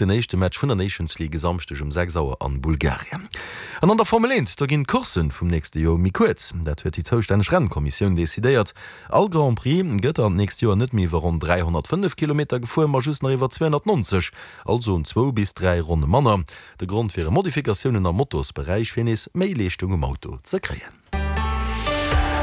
spillt den éischte Match vun der Nations League e Samschdeg um 6 Auer an Bulgarien. An an der Formel 1, do ginn d'Courssen vum nächste Joer méi kuerz. Dat huet déi zoustänneg Rennkommissioun decidéiert. All Grand Prix gëtt an d'nächst Joer net méi iwwer ronn 305 Kilometer gefuer, ma just nach iwwer 290, also zwou bis 3 Ronne manner. De Grond wiere Modifikatiounen am Motorsberäich, fir nees méi Leeschtung um Auto ze kréien.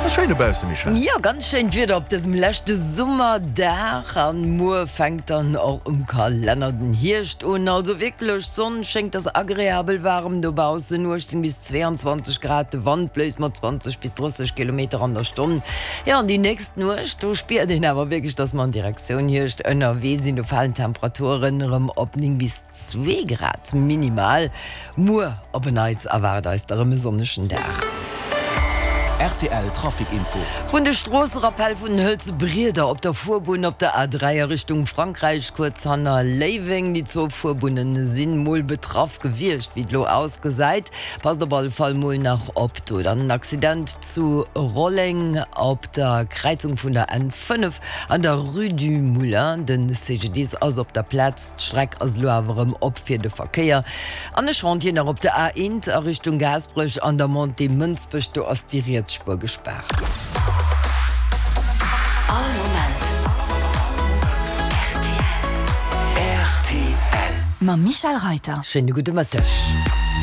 Ass schéin dobaussen, Michèle. Jo, ganz schéint Wieder op dësem leschte Summerdag an muer fänkt dann och um Kalenner den Hierscht un. Also wierklech, d'Sonn schéngt, ass agreabel waarem dobaussen, 18 bis 22 Grad, de Wand bléist mat 20 bis 30 Kilometer an der Stonn. Jo, an déi nächst Nuecht, do spiert een awer wierklech, dass mer an Direktioun Hierscht ënnerwee sinn. Do falen d'Temperaturen erëm op 9 bis 2 Grad minimal. Muer op en Neits erwaart eis da rëm e sonnegen Dag. Rtl Trafic Info. Vun de Stroosserappell vun den hëlze Brieder op der Fuerbunn op der A3 a Richtung Frankräich, kuerz hanner Léiweng. Déi zwou Fuerbunnen sinn mol betraff gewiescht, wéi et lo ausgesäit. Passt op alle Fall mol nach op do. Dann en Accident zu Rolleng op der Kräizung vun der N5 an der Rue du Moulin. Den CGDIS ass op der Plaz. D'Streck ass elo awer erëm op fir de Verkéier. An e Chantier nach op der A1 a Richtung Gaasperech an der Montée Mënsbech, do ass déi riets Spuer gespaart. All Moment rtl. Mam Michèle Reiter. Schéine gudde Mëtteg.